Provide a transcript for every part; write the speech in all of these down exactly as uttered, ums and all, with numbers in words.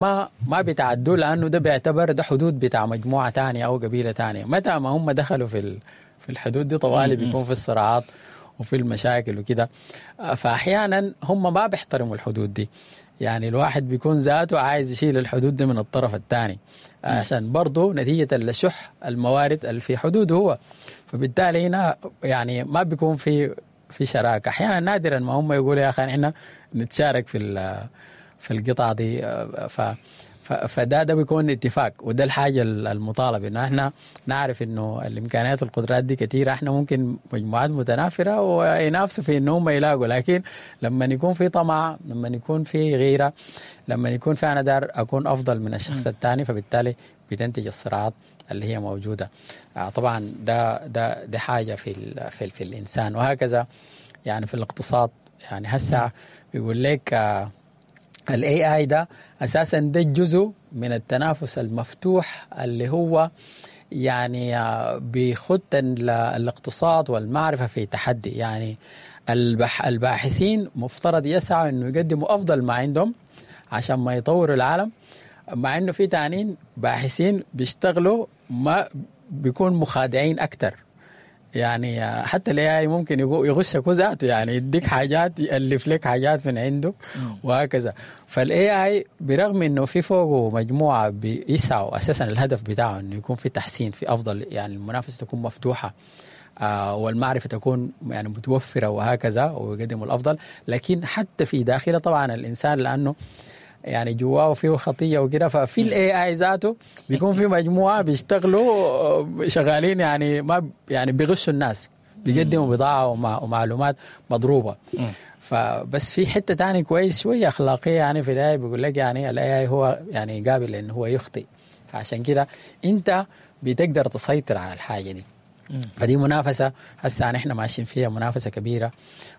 ما ما بيتعدوا، لانه ده بيعتبر ده حدود بتاع مجموعة تانية او قبيلة تانية. متى ما هم دخلوا في في الحدود دي طوالي بيكون في الصراعات وفي المشاكل وكده. فاحيانا هم ما بيحترموا الحدود دي، يعني الواحد بيكون ذاته عايز يشيل الحدود دي من الطرف الثاني، عشان برضه نتيجة لشح الموارد اللي في حدوده هو. فبالتالي هنا يعني ما بيكون في في شراكة. احيانا نادرا ما هم يقولوا يا اخي احنا نتشارك في في القطعة دي. ف فده ده بيكون اتفاق، وده الحاجة المطالب، انه احنا نعرف انه الامكانيات والقدرات دي كثيرة، احنا ممكن مجموعات متنافره وينافسوا في انه هم يلاقوا، لكن لما يكون في طمع، لما يكون في غيره، لما يكون في انا دار اكون افضل من الشخص الثاني، فبالتالي بتنتج الصراعات اللي هي موجودة. طبعا ده ده ده حاجة في ال في, ال في الانسان، وهكذا يعني في الاقتصاد. يعني هسه بيقول لك ال AI ده اساسا ده جزء من التنافس المفتوح اللي هو يعني بيخت الاقتصاد والمعرفة في تحدي. يعني البح الباحثين مفترض يسعوا انه يقدموا افضل ما عندهم عشان ما يطوروا العالم، مع انه في تانين باحثين بيشتغلوا ما بيكون مخادعين اكثر. يعني حتى ال AI ممكن يغشك ذاته، يعني يديك حاجات، يالف لك حاجات من عنده وهكذا. فال AI برغم انه في فوقه مجموعة بيسعوا اساسا الهدف بتاعه انه يكون في تحسين في افضل، يعني المنافسة تكون مفتوحة آه والمعرفة تكون يعني متوفرة وهكذا، ويقدموا الافضل، لكن حتى في داخله طبعا الانسان لانه يعني جواه فيه خطيه وكده، ففي ال AI ذاته بيكون في مجموعة بيشتغلوا شغالين يعني ما يعني بيغشوا الناس، بيقدموا بضاعة ومعلومات مضروبة. فبس في حتة تاني كويس شوية اخلاقية يعني في ال AI، بيقول لك يعني ال AI هو يعني قابل انه هو يخطئ، فعشان كده انت بتقدر تسيطر على الحاجة دي. فدي منافسة هسه نحن ماشيين فيها، منافسة كبيرة،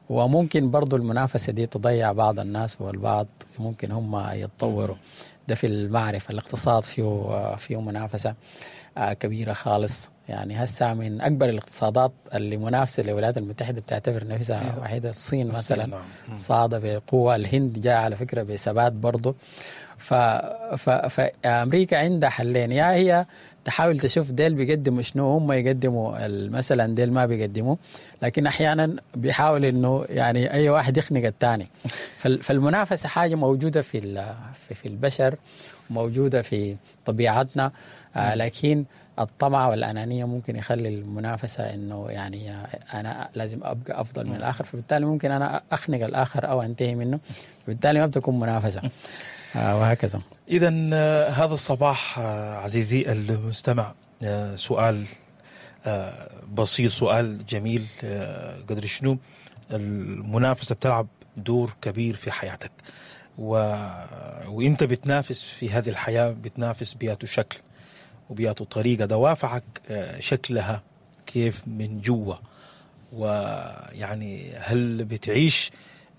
وممكن برضو المنافسة دي تضيع بعض الناس، والبعض ممكن هم يتطوروا. ده في المعرفة. الاقتصاد فيه فيه منافسة كبيرة خالص. يعني هسه من أكبر الاقتصادات اللي منافسة للولايات المتحدة بتعتبر نفسها واحدة الصين مثلا، صاعدة بقوة. الهند جاء على فكرة بثبات برضو. ف... ف... فأمريكا عندها حلين، يا هي تحاول تشوف ديل بيقدموا شنو، هم يقدموا مثلا ديل ما بيقدموا، لكن احيانا بيحاول انه يعني اي واحد يخنق الثاني. فالمنافسه حاجة موجودة في في البشر، موجودة في طبيعتنا، آه لكن الطمع والانانيه ممكن يخلي المنافسة انه يعني انا لازم ابقى افضل من الاخر، فبالتالي ممكن انا اخنق الاخر او انتهي منه، فبالتالي ما بتكون منافسه وهكذا. إذا هذا الصباح عزيزي المستمع سؤال بسيط، سؤال جميل، قدر شنو المنافسة بتلعب دور كبير في حياتك، و... وإنت بتنافس في هذه الحياة، بتنافس بياتو شكل وبياتو طريقة، دوافعك شكلها كيف من جوا، ويعني هل بتعيش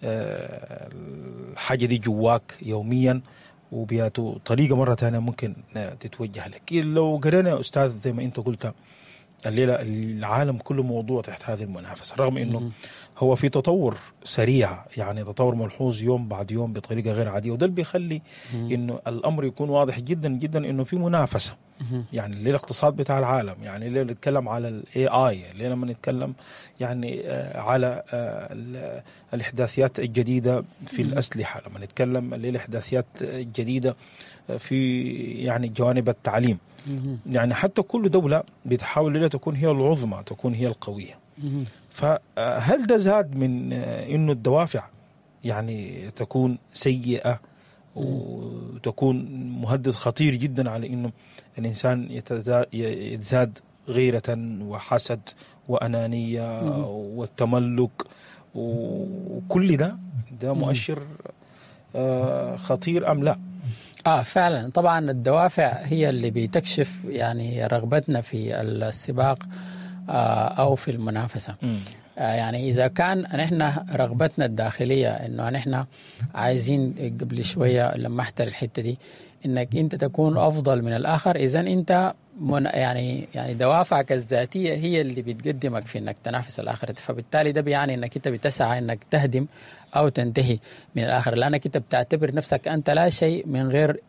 الحاجة دي جواك يوميا وبياتو طريقة مرة تانية ممكن تتوجه لك. لو قرينا يا أستاذ زي ما أنت قلت الليلة العالم كله موضوع تحت هذه المنافسة، رغم أنه هو في تطور سريع، يعني تطور ملحوظ يوم بعد يوم بطريقة غير عادية، وده اللي بيخلي أنه الأمر يكون واضح جدا جدا أنه في منافسة. يعني الليلة الاقتصاد بتاع العالم، يعني الليلة نتكلم على ال إيه آي، الليلة لما نتكلم يعني على الإحداثيات الجديدة في الأسلحة، لما نتكلم الليلة الإحداثيات الجديدة في يعني جوانب التعليم، يعني حتى كل دولة بتحاول الليلة تكون هي العظمى، تكون هي القوية. فهل ده زاد من إنه الدوافع يعني تكون سيئة وتكون مهدد خطير جدا على إنه الإنسان يتزاد غيرة وحسد وأنانية والتملك وكل ده، ده مؤشر خطير أم لا؟ آه فعلا طبعا الدوافع هي اللي بتكشف يعني رغبتنا في السباق آه أو في المنافسة. م. آه، يعني اذا كان نحن رغبتنا الداخلية انه نحن عايزين، قبل شوية لمحت الحتة دي، انك انت تكون افضل من الاخر، اذا انت من يعني يعني دوافعك الذاتية هي اللي بتقدمك في انك تنافس الاخر، فبالتالي ده بيعني انك انت بتسعى انك تهدم او تنتهي من الاخر، لانك انت بتعتبر نفسك انت لا شيء من غير